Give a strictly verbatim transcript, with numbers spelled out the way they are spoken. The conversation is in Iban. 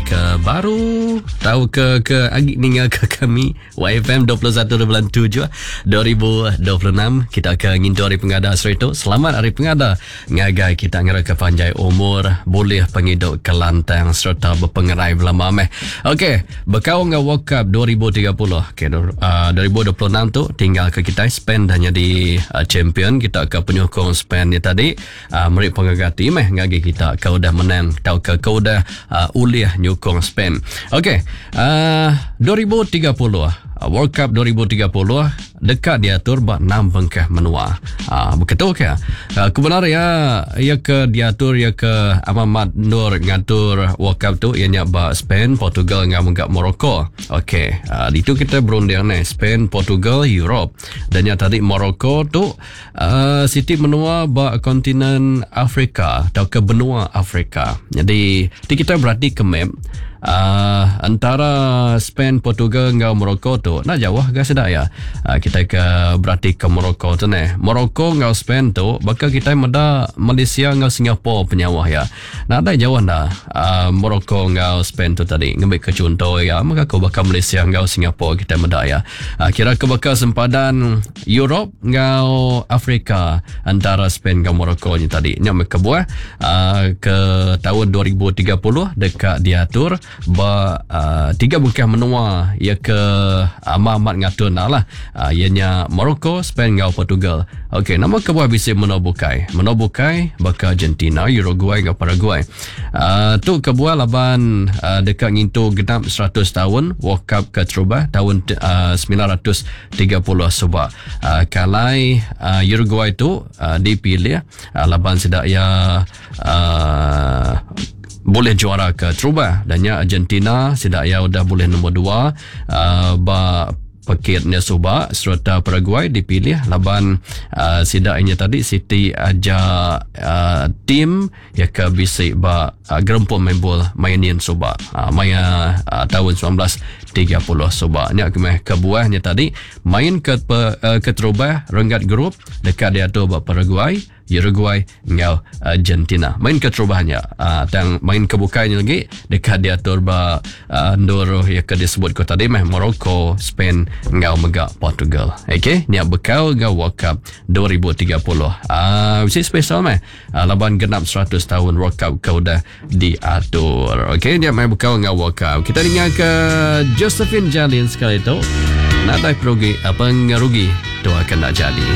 ke baru tau ke ke agi ninga ke kami Y F M dua puluh satu bulan tujuh dua ribu dua puluh enam kita ke ngintu hari pengada seritu. Selamat hari pengada ngagai kita ngera ke panjai umur, boleh pengidup kelantang serta berpengerai belama meh. Okey, bekau dengan World Cup dua ribu tiga puluh. Okey, uh, dua ribu dua puluh enam tu tinggal ke kita Spain dah jadi uh, champion. Kita ke penyokong Spain ni tadi uh, meri pengagati meh ngagai kita ke udah menang tau ke ke udah uh, ulih nyukong Spain. Okey, uh, dua ribu tiga puluh World Cup dua ribu tiga puluh dekat diatur bak enam bengkah menua. Ah, begitu ke? Uh, kebenar ya, ya ke diatur ya ke Ahmad Nur ngatur World Cup tu ianya bak Spain, Portugal ngau menggak Morocco. Okey, uh, itu kita berunding ni Spain, Portugal, Europe. Dan yang tadi Morocco tu uh, siti menua bak kontinen Afrika atau ke benua Afrika. Jadi, ti kita berarti ke map Uh, antara Spain, Portugal ngau Morocco tu nak jauh ke sedak ya. Uh, kita ke berarti ke Morocco tu ne. Morocco ngau Spain tu bakal kita meda Malaysia ngau Singapura penyawah ya. Nak ada jauh dah uh, Morocco ngau Spain tu tadi. Ngambil ke contoh ya, maka ko bakal Malaysia ngau Singapura kita meda ya. Uh, kira ke bakal sempadan Europe ngau Afrika antara Spain ngau Morocco ni tadi. Nya ke buah uh, ke tahun dua ribu tiga puluh dekat diatur ba uh, tiga bengkah menua ia ke amat-amat ngatur nak lah. Uh, ianya Morocco, Spain ngau Portugal. Okey, nama kebuah bisi menua bukai. Menua bukai baka Argentina, Uruguay ngau Paraguay. Uh, tu kebuah laban uh, dekat ngintu genap seratus tahun World Cup ke terubah tahun uh, sembilan ratus tiga puluh sebab uh, kalai uh, Uruguay tu uh, dipilih uh, laban sedak ia uh, boleh juara ke terubah. Dan ya Argentina sedak ia udah boleh nombor dua uh, ba pekitnya subak serta Paraguay dipilih laban uh, sidak ini tadi City aja uh, tim ya ke bisik ba uh, gerempung main bol mainin subak uh, maya uh, tahun sembilan belas tiga puluh subak nya kemeh kebuahnya tadi main ke uh, ke terubah renggat grup dekat dia tu ba Paraguay, Uruguay ngau Argentina. Main ke terubahnya uh, tang main ke bukainya lagi dekat dia atur ba uh, ndur ya ke disebut ko tadi meh Morocco, Spain ngau mega Portugal. Okey, ni bekal ngau World Cup dua ribu tiga puluh. Ah, uh, mesti special meh. Uh, laban genap seratus tahun World Cup kau dah diatur. Okey, dia main bekal ngau World Cup. Kita dengar ke Josephine Jalin sekali tu. Nak dah perugi apa ngerugi tu akan nak jadi.